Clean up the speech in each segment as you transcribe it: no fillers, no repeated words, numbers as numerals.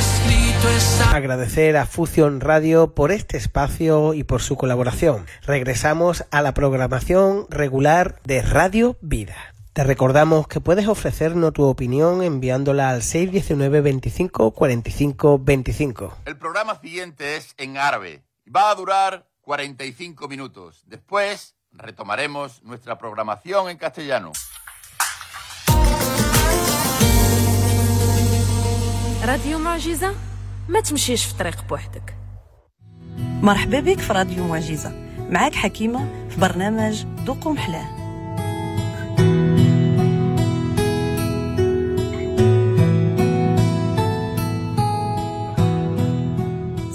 Escrito está. Agradecer a Fusion Radio por este espacio y por su colaboración. Regresamos a la programación regular de Radio Vida. Te recordamos que puedes ofrecernos tu opinión enviándola al 619 25 45 25. El programa siguiente es en árabe. Va a durar 45 minutos. Después retomaremos nuestra programación en castellano. راديو معجزة، ما تمشيش في طريق بوحدك. مرحبا بك في راديو معجزة، معاك حكيمة في برنامج ذوقوا محلاه.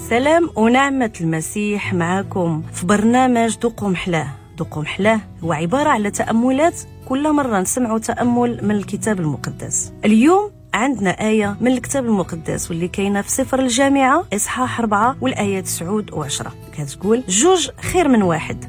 سلام ونعمة المسيح معاكم في برنامج ذوقوا محلاه. ذوقوا محلاه هو عبارة على تأملات، كل مرة نسمعوا تأمل من الكتاب المقدس. اليوم عندنا آية من الكتاب المقدس واللي كاينة في سفر الجامعة إصحاح 4 والآية 9 و10، كتقول: جوج خير من واحد،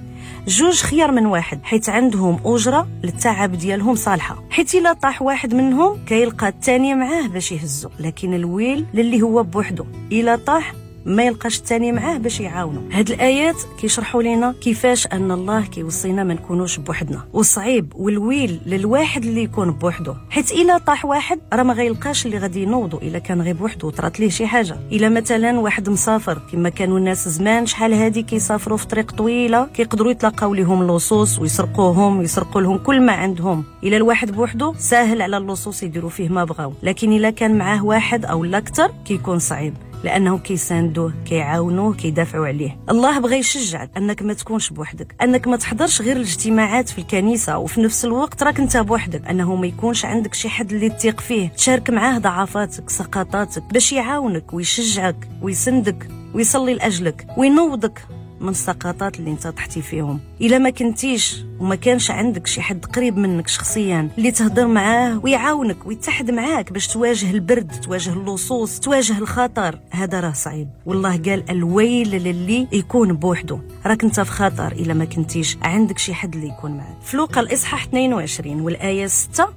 جوج خيار من واحد، حيت عندهم أجرة للتعب ديالهم صالحة، حيت إلا طاح واحد منهم كيلقى الثاني معاه باش يهزو، لكن الويل للي هو بوحده إلا طاح ما يلقاش الثاني معاه باش يعاونو. هاد الايات كيشرحوا لنا كيفاش ان الله كيوصينا ما نكونوش بوحدنا، وصعيب والويل للواحد اللي يكون بوحدو، حيت الا طاح واحد راه ما غيلقاش اللي غادي ينوضو الا كان غير بوحدو وطرات ليه شي حاجه. الا مثلا واحد مسافر، كما كانوا الناس زمان شحال هادي كيسافروا في طريق طويله، كيقدروا يتلاقاو ليهم اللصوص ويسرقوهم ويسرقوا لهم كل ما عندهم. الا الواحد بوحدو ساهل على اللصوص يديروا فيه ما بغاو، لكن الا كان معاه واحد او لا اكثر كيكون صعيب، لأنه كيساندوه، كيعاونوه، كيدافعوا عليه. الله بغى يشجعك أنك ما تكونش بوحدك، أنك ما تحضرش غير الاجتماعات في الكنيسة وفي نفس الوقت راك أنت بوحدك، أنه ما يكونش عندك شي حد اللي تثق فيه، تشارك معاه ضعفاتك، سقطاتك، باش يعاونك ويشجعك ويسندك ويصلي لأجلك وينوضك من السقطات اللي انت طحتي فيهم. الا ما كنتيش وما كانش عندك شي حد قريب منك شخصيا اللي تهضر معاه ويعاونك ويتحد معاك باش تواجه البرد، تواجه اللصوص، تواجه الخطر، هذا راه صعيب. والله قال الويل للي يكون بوحده، راك انت في خطر الا ما كنتيش عندك شي حد اللي يكون معاك. في لوقا الاصحاح 22 والايه 6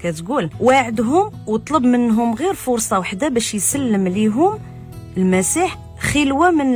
كتقول: واعدهم وطلب منهم غير فرصه واحده باش يسلم ليهم المسيح خلوه من